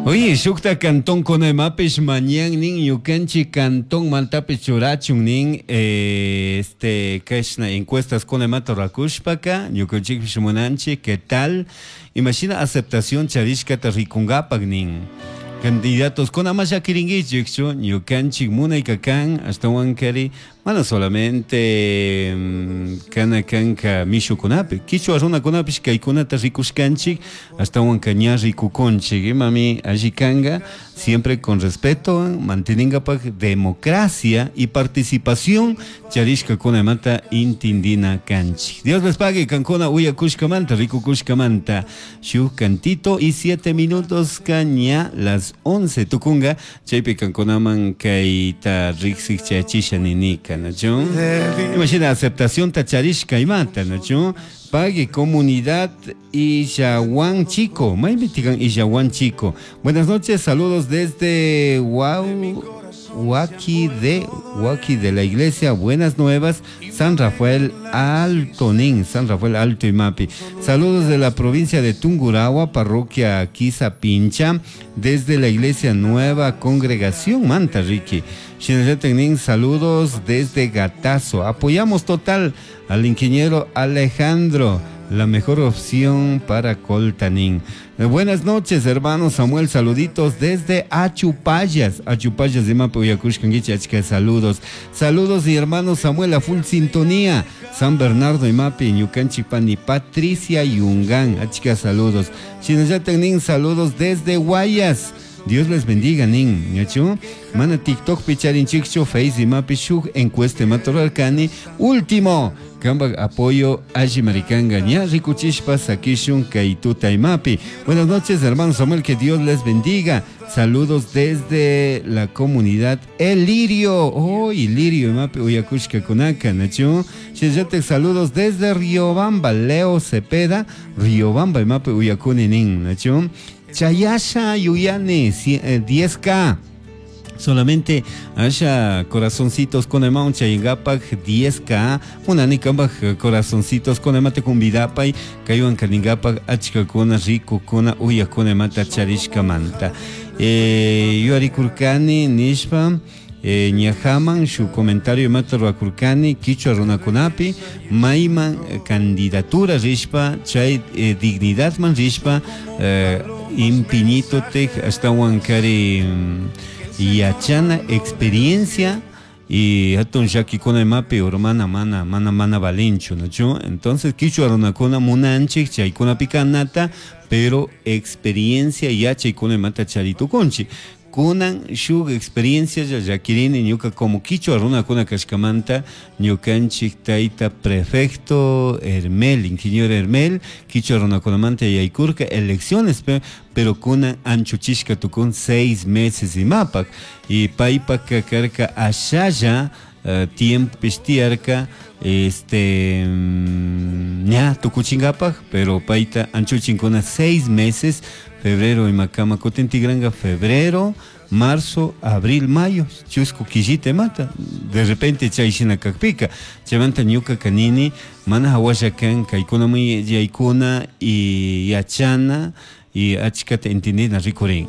Oye, shukta cantón kunaymapish mañan nin ñukanchik cantón maltapi churachun nin kashna encuestas kunaymata rurakushpaka ñukanchikpish munanchik qué tal imashina aceptación charishkata rikunkapak nin. Candidatos kuna ama llakirinkichikchu ñukanchik munayka kan ashtawankari mana solamente kana kanka mishukunapi kichwa runakunapish kaykunata rikushkanchik ashtawanka ña rikukunchik imami alli kanka siempre con respeto manteningapak democracia y participación charishkakunamanta intindina kanchik. Dios les pague kankuna uyakushkamanta rikukushkamanta shuk cantito y 7 minutos ña las 11 tukunga chaypi kankunaman kayta riksik chayachisha ninika, ¿nachu? Imagina aceptación ta charishka imata, ¿nachu? Pague comunidad Illahuán Chico. Maypi tikan Illahuán Chico. Buenas noches, saludos desde Huaki de la iglesia Buenas Nuevas, San Rafael Alto Nin, San Rafael Alto Imapi. Saludos de la provincia de Tungurahua, parroquia Quisapincha, desde la iglesia Nueva Congregación Manta Ricky. Shinallatak saludos desde Gatazo. Apoyamos total al ingeniero Alejandro, la mejor opción para Coltanín. Buenas noches, hermano Samuel, saluditos desde Achupallas. Achupallas de Mapo Yakushkanguichi, achka saludos. Saludos, mi hermano Samuel, a full sintonía. San Bernardo y Mapi, Ñukanchipani, Patricia Yungán, achka saludos. Shinallatak saludos desde Guayas. Dios les bendiga, nin. ¿Yachu? Mana TikTok picharinchikchu, Face y Mapi shuk encuesta matorarkani. Último. Kamba apoyo alli maricanga ña rikuchishpa sakishun kaytuta imapi. Buenas noches, hermano Samuel, que Dios les bendiga. Saludos desde la comunidad El Lirio. Oh, Lirio imapi uyakushka kunaka, nachu. Shillate saludos desde Riobamba, Leo Cepeda, Riobamba imapi uyakuni nin, nachu. Chayasha Yuyane, 10K. Solamente haya corazoncitos con el chayingapak 10K, unanikambaj corazoncitos con el mate kumbidapay, kayuan kaningapak achkakuna rico kuna uyakuna mata charishka manta. Yuarikurkani nishpa ñajaman shu comentario mata ruakurkani kichwa runakunapi mayman candidatura rishpa chay dignidad man rishpa impiñito tek ashtawan kari yachana experiencia y hatun llakikuna imapi urmana mana mana mana valinchu, ¿no? Entonces kichwa runakuna munanchik chaykunapi kanata pero experiencia yachaykuna imata charitukunchik. Kunan shuk experiencia ya llakirini ñuka como kichwa runakuna kashkamanta ñukanchik tayta prefecto Hermel, ingeniero Hermel, kichwa runakunamanta yaykurka elecciones, pero kunan anchuchishka tukun 6 meses imapak y paypak karka ashalla tiempo pishtiarka ña tukuchingapak, pero payta anchuchinkuna 6 meses, febrero imakama kutin tigranga febrero, marzo, abril, mayo, chusku quillita mata, de repente chay shina kakpika, chaymanta ñuka kanini, mana hawasha kan, kaykuna muy yaykuna y yachana y achkata entendina rikurin.